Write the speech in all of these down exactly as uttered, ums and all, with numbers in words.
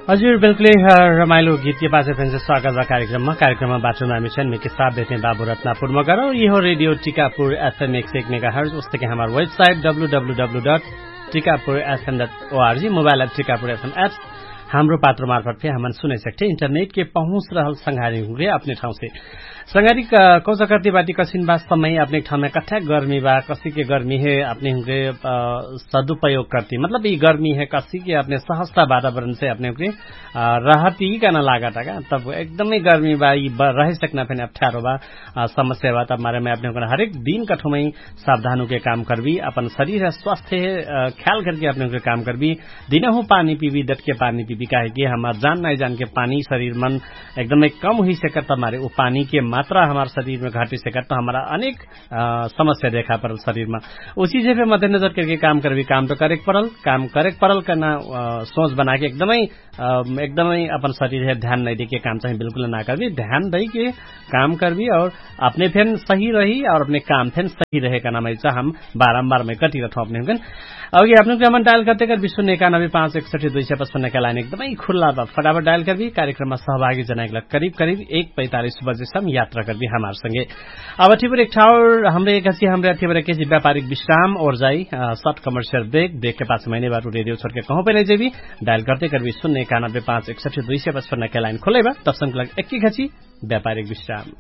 हजुर बिल्कुलै। रमाइलो गीतके पाछे फेन्से स्वागत बा कार्यक्रममा। कार्यक्रममा बाटोमा हामी छन मेके साथ देते बाबु रत्नापुरमा गरौ। यहो रेडियो टिकापुर एफएम एक सय एक मेगा हर्ज उस्तके हमार website W W W dot Tikapur FM dot O R G mobile app Tikapur FM app. Hamro Patro मार्फत फेर हमन सुनै सक्थे इन्टरनेटके पहुँच रहल संघारी हुँके अपने ठाउँसे। संघारी कौचा कर्ती बाटी कसिन बा समय अपने ठाउँमे कठ्या गर्मी बा कसिके गर्मी हे अपने हुँके सदुपयोग कर्ती मतलब यि गर्मी हे कसिके अपने सहस्ता वातावरणसे अपने हुँके रहती कहना लागत हका। तब एकदमै गर्मी बा यि रहे सकना फेन अप्ठ्यारो बा। समस्या बा तब मारे मै अपने हुँके हरेक दिन कठोमै सावधान हुँके काम कर्बी अपन शरीर स्वास्थ्य ख्याल कर्के अपने हुँके काम कर्बी। दिनहु पानी पिबी दटके पानी पिबी काहेकि हमार जान नाइ जानके पानी शरीर मन एकदमै कम हुइसकत हमारे उ पानीके मात्रा हमार शरीरमे घटिसकत त हमारा अनेक समस्या देखा परल शरीरमा। उसी जेफे मध्यनजर करके काम करबी काम त करेक परल काम करेक परल कहना सोच बनाके एकदमै एकदमै अपन शरीर हे ध्यान नैदेके काम चाही बिल्कुल ना करबी ध्यान दैके काम करबी और अपने फेन सही रही और अपने काम फेन सही रहे कहना मैचा हम बारम्बार मै कटिरहत हौ अपने हुँकन। अघि अपने हुँकन डायल करते कर विश्व नेका नबे पाँच एकसठी दुई सय पचपन्न का लाइन एकदमै खुल्ला बा फटाफट डायल करबी कार्यक्रममा सहभागी जनाइक लग करिब करिब एक पैतालिस बजेसम यात्रा करबी हमार संगे। अब ठिबर एक ठाउर हमरे एक हसी हमरे अथी बरे केसी व्यापारिक विश्राम और जाई सट कमर्सियल ब्रेक ब्रेक के पास मैने बाटु रेडियो छोड़के कहूँ पे नहीं जेबी। डायल करते करबी सुन्ने कानबे पाँच एकसठी दुई सय पचपन्न के लाइन खोले बा तब संकलक एक ही घची व्यापारिक विश्राम।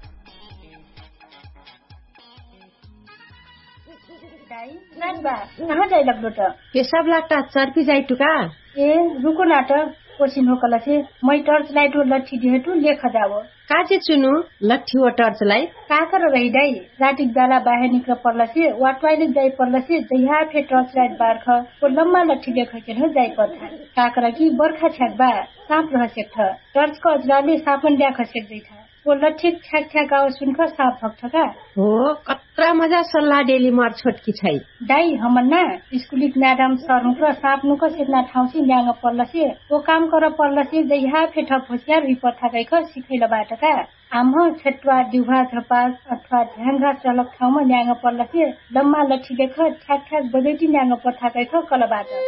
कहाँ जाइ लग्लो त? पेसाब लाग्ता चर्पी जाइ टुका। ए रुको ना त। कोसिन हो कलसे मै टर्च लाइट हो लट्ठी दिहेटु लेख जाओ। काजे चुनु लट्ठी हो टर्च लाइट? काकर रही दाइ रातिक बेला बाहे निक्र पर्लसे वा ट्वाइलेट जाइ पर्लसे जहिया फे टर्च लाइट बार्ख। ओ लम्मा लट्ठी लेख केन हो जाइ पर्था। काकर कि बर्खा छ्याक बा साप रह सेक्थ। टर्च क अजराले सापन ड्याख सेक जैथा। ओ लठिक ठ्याक ठ्याक आवाज सुनख साप भक्ठका। हो कत्रा मजा सल्लाह डेली मर छोटकी छै। दाइ हमर ना स्कुलिक म्याडम सर हुँक्र साप नुक सेतना ठाउँसे न्याङ्ग पर्लसे ओ काम कर पर्लसे जैहा फेठ होसियार हुइ पठाकैख सिखैल बाटका। आम्ह छेट्वा दिउहा झपास अथवा ढ्याङ्घा चलक ठाउँमा न्याङ्ग पर्लसे लम्मा लठिलेख ठ्याक ठ्याक बजैटी न्याङ्ग पठाकैख कलबाट।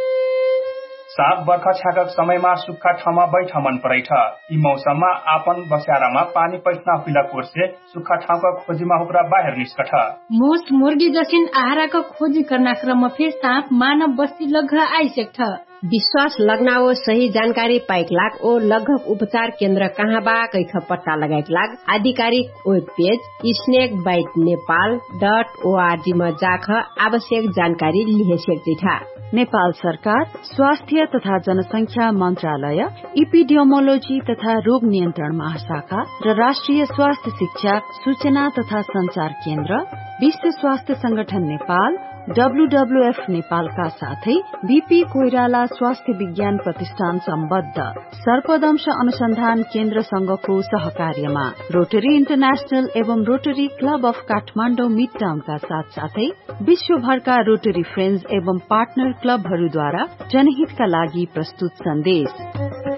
साप बर्खा छ्याकक समयमा सुक्खा ठाउँमा बैठ मन परैठ। यि मौसममा आपन बस्यारामा पानी पैठना हुइला कोर्से सुक्खा ठाउँका खोजीमा हुक्रा बाहेर निस्कठ। मुस मुर्गी जसिन आहाराक खोजी कर्ना क्रम फेर साप मानव बस्ती लग्घ आइसेक्ठ। विश्वास लग्ना ओ सही जानकारी पाइक लाग ओ लग्घक उपचार केन्द्र कहाँ बा कैख पट्टा लगाइक लाग आधिकारिक web page snake bite Nepal dot ORG मा जाख आवश्यक जानकारी लिहे सेक्जिठा। नेपाल सरकार स्वास्थ्य तथा जनसंख्या मन्त्रालय इपिडियोमोलोजी तथा रोग नियन्त्रण महाशाखा र राष्ट्रिय स्वास्थ्य शिक्षा सूचना तथा संचार केन्द्र विश्व स्वास्थ्य संगठन नेपाल डब्लुडब्लुएफ नेपालका साथै बिपी कोइराला स्वास्थ्य विज्ञान प्रतिष्ठान सम्बद्ध सर्पदंश अनुसन्धान केन्द्रसँगको सहकार्यमा रोटरी इन्टरनेशनल एवं रोटरी क्लब अफ काठमाडौँ मिड टाउनका साथसाथै विश्वभरका रोटरी फ्रेन्ड्स एवं पार्टनर क्लबहरूद्वारा जनहितका लागि प्रस्तुत सन्देश।